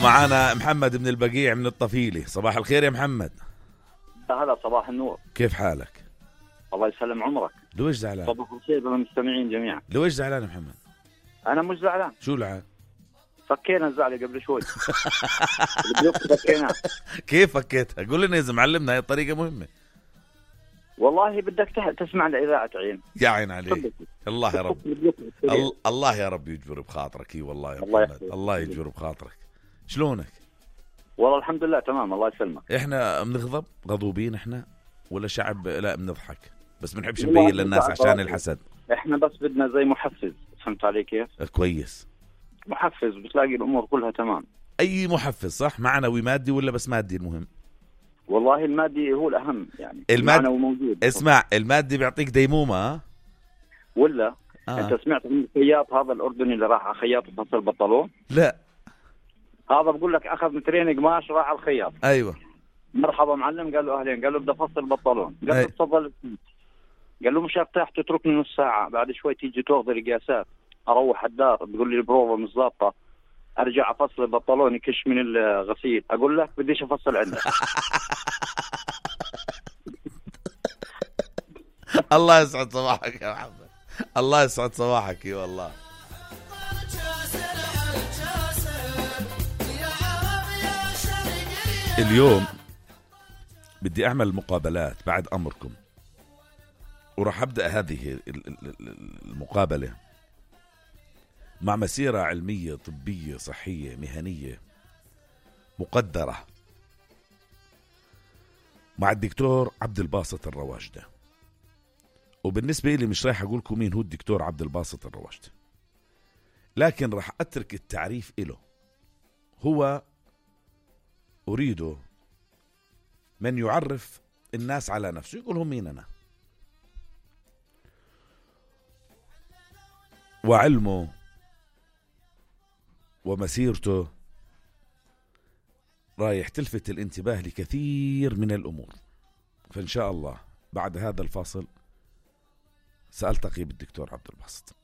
معنا محمد من البقيع من الطفيلة. صباح الخير يا محمد. هلا صباح النور. كيف حالك؟ الله يسلم عمرك. لويش زعلان؟ صباح الخير للمستمعين جميعا. لويش زعلان يا محمد؟ أنا مش زعلان. شو العاد؟ فكينا الزعلة قبل شوي. فكينا. كيف فكيتها؟ قول لنا إذا معلمنا، هاي الطريقة مهمة. والله بدك تسمع لإذاعة عين. يا عين عليك. الله يا رب. الله يا رب يجبر بخاطرك. والله يا محمد الله يجبر بخاطرك. شلونك؟ والله الحمد لله تمام الله يسلمك. احنا بنغضب غضوبين احنا ولا شعب؟ لا بنضحك بس بنحبش نبين للناس عشان الحسد. احنا بس بدنا زي محفز. فهمت علي كيف؟ كويس. محفز بتلاقي الامور كلها تمام. اي محفز صح؟ معنوي مادي ولا بس مادي؟ المهم والله المادي هو الاهم يعني. المعنوي موجود. اسمع، المادي بيعطيك ديمومة ولا انت سمعت عن الخياط هذا الاردني اللي راح على خياط وفصل البنطلون؟ لا هذا بقول لك اخذ مترين قماش راح على الخياط. ايوه مرحبا معلم، قال له اهلين، قال له بدي افصل البنطلون، قال له تفضل. قال له مش ارتاح تتركني نص ساعه، بعد شوي تيجي تاخذ القياسات، اروح الدار بتقول لي البروفه مش ظابطه، ارجع افصل البنطلون يكش من الغسيل، اقول لك بديش افصل عندك. الله يسعد صباحك يا محمد. الله يسعد صباحك. اي والله. اليوم بدي اعمل مقابلات بعد امركم، وراح ابدا هذه المقابله مع مسيره علميه طبيه صحيه مهنيه مقدره مع الدكتور عبد الباسط الرواجده. وبالنسبه لي مش رايح اقول لكم مين هو الدكتور عبد الباسط الرواجده، لكن راح اترك التعريف له. هو أريد من يعرف الناس على نفسه، يقول هم مين أنا، وعلمه ومسيرته رايح تلفت الانتباه لكثير من الأمور. فإن شاء الله بعد هذا الفاصل سألتقي بالدكتور عبد الباسط.